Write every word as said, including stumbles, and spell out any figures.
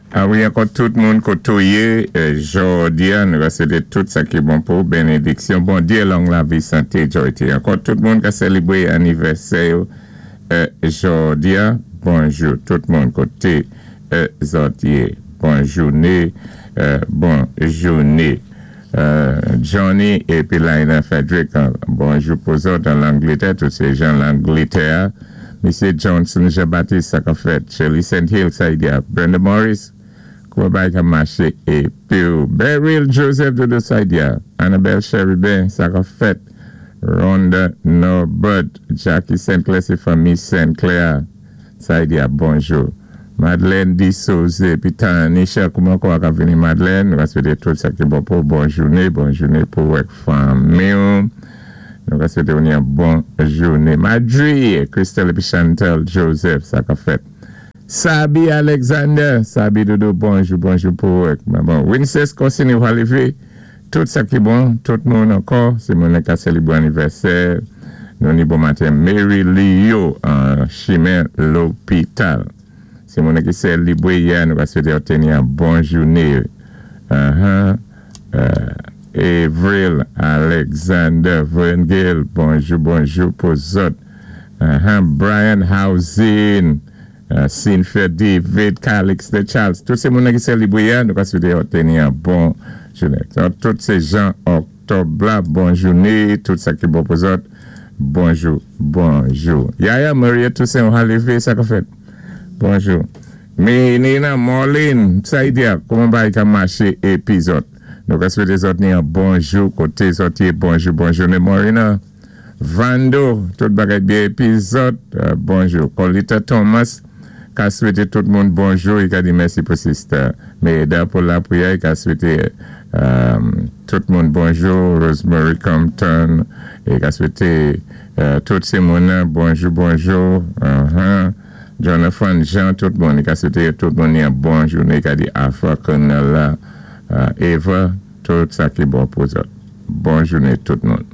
A wi, ankò tout moun koté ou yé, jòdi-a, nou ka swété tout sa ki bon pou bénédiksyon. Bondyé, long lavi, santé, joyté. Ankò tout moun ka sélébwé anivèsè jòdi-a. Bonjou, tout moun koté zòt yé. Bon jouné, bon jouné. Johnny épi Lina Frederick, bonjou pou zòt an Langlétè, tout sé jan Langlétè. Misyé Johnson Jean-Baptiste, sa ka fèt. Shirley Saint Hill, Saidia. Brenda Morris, kouman bagay ka maché. Épi Beryl Joseph de Saidia. Annabelle Cherubin, sa ka fèt. Rhonda Norbert, Jackie Saint Clair, sé fanmi Saint Clair. Saidia, bonjou. Madeleine D. Souza, épi Tanisha, kouman kwa ka vini Madeleine? Nou ka swété tout sa ki bon pou bon jouné, bon jouné pou wèk fanmi. Nou ka swété ou ni bon jouné. Madri, Christelle épi Chantal Joseph, sa ka fèt. Sabi Alexander, Sabi Dodo, bonjou, bonjou pou wèk. Bon, Winces Corsini Walivé, tout sa ki bon, tout moun ankò, sé moun ka sélébwé anivèsè. Nou ni bon maten, Mary Leo, an chimen lopital. Sé moun ki sélébwé yè, nou ka swété yo ni an bon jouné. Uh-huh. Uh, Avril Alexander Vengel, bonjou, bonjou pou zòt. Uh-huh. Brian Housing, uh, Cynthia David, Calix de Charles. Tout sé moun ki sélébwé yè, nou ka swété yo ni an bon jouné. Tout sé jan òktòb la, bon jouné, tout sa ki bon pou zòt. Bonjou, bonjou. Yaya Maria Toussaint, Halivé, sa ka fèt. Bonjou. Nina Marlene, Saidia, kouman bagay ka maché épi zòt. Nou ka swété zòt ni an bonjou, koté zòt yé, bonjou, bonjou. Ne Morina, Vando, tout bagay byen épi zòt, bonjou. Colita Thomas, ka swété tout moun bonjou, i ka di mèsi pou sister Meda pou lapriyè, i ka swété tout moun bonjou, Rosemary Compton, i ka swété tout sé moun bonjou, bonjou, uh-huh. Jonathan Jean, tout moun, i ka swété tout moun ni an bon jouné, i ka di Afra Cornella, Eva, tout sa ki bon pou zòt. Bon jouné tout moun.